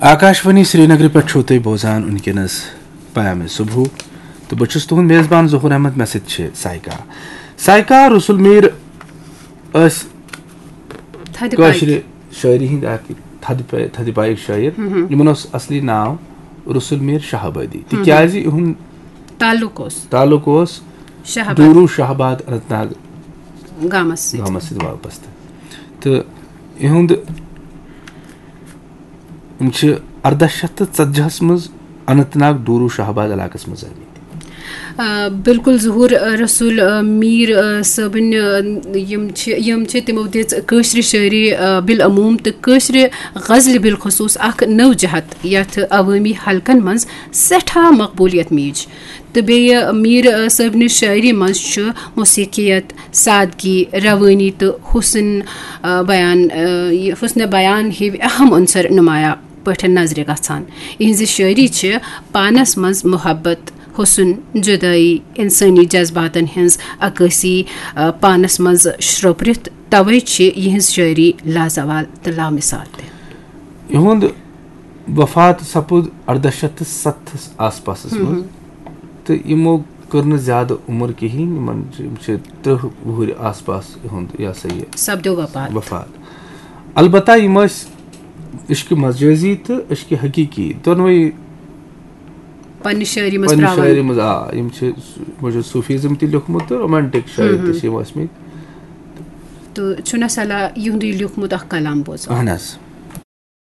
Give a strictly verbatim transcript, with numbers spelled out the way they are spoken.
آکاشوانی سرینگرٕ پٮ۪ٹھ چھِو تُہۍ بوزان وٕنکیٚنَس پیام صبح، تہٕ بہٕ چھُس تُہُنٛد میزبان ظہور احمد۔ مےٚ سۭتۍ چھِ سایکا۔ سایکا، رسول میٖر ٲسۍ تھدِ پایہِ۔ کٲشرِ شٲعری ہٕنٛدۍ اکھ تھدِ پا-، تھدِ پایِکۍ شٲعر۔ ہم۔ یِمن اوس اصلی ناو رسول میٖر شاہ آبادی، تِکیازِ یِہُنٛد تعلق اوس تعلق اوس شاہ آباد ڈوٗروٗ شاہ آباد اننت ناگ گامس سۭتۍ۔ گامس سۭتۍ وابستہٕ۔ تہٕ یِہُنٛد، یِم چھِ ارداہ شیٚتھ تہٕ ژتجی ہس منٛز اننت ناگ ڈوٗروٗ شاہ آباد علاقس منٛز زامٕتۍ۔ آ، بالکل ظہور، آ، رسول، آ، میٖر، آ، صٲبٕنۍ، آ، یِم چھِ یِم چھِ تِمو دِژ کٲشرِ شٲعری، آ، بالعموم تہٕ کٲشرِ غزلہِ بالخصوص اکھ نٔو جہت، یتھ عوٲمی حلقن منٛز سٮ۪ٹھاہ مقبولیت میٖج۔ تہٕ بیٚیہِ میٖر، آ، صٲبنہِ شٲعری منٛز چھُ موسیقیت، سادگی، روٲنی تہٕ حسن، آ، بیان، آ، یہِ حسن بیان ہِوۍ اہم عنصر نمایاں پٲٹھۍ نظرِ گژھان۔ یِہنٛزِ شٲعری چھِ پانس منٛز محبت، حسن، جدٲیی، انسٲنی جذباتن ہٕنٛز عکٲسی، آ، پانس منٛز شرٛوپرِتھ، توے چھِ یِہنٛز شٲعری لازوال تہٕ لامثال تہِ۔ یِہُنٛد وفات سپُد ارداہ شیٚتھ تہٕ ستتھس آس پاسس منٛز، تہٕ یِمو کٔر نہٕ زیادٕ عمر کِہیٖنۍ، یِمن چھِ، یِم چھِ ترٕٛہ وُہٕرۍ آس پاس یِہُنٛد، یہِ ہسا یہِ، سپدیو وفات۔ وفات۔ البتہ یِم ٲسۍ عشقِ مجازی تہٕ عشقِ حقیقی دۄنوَے پننہِ شٲعری منٛز پننہِ تراوان۔ شٲعری منٛز، آ، یِم چھِ س-، یِمو چھُ صوفیزم تہِ لیوٚکھمُت تہٕ رومانٹک شٲعر تہِ چھِ یِم ٲسمٕتۍ۔ تہٕ چھُنہ صلاح یِہُنٛدُے لیوٚکھمُت اکھ کلام بوزو۔ اہن حظ۔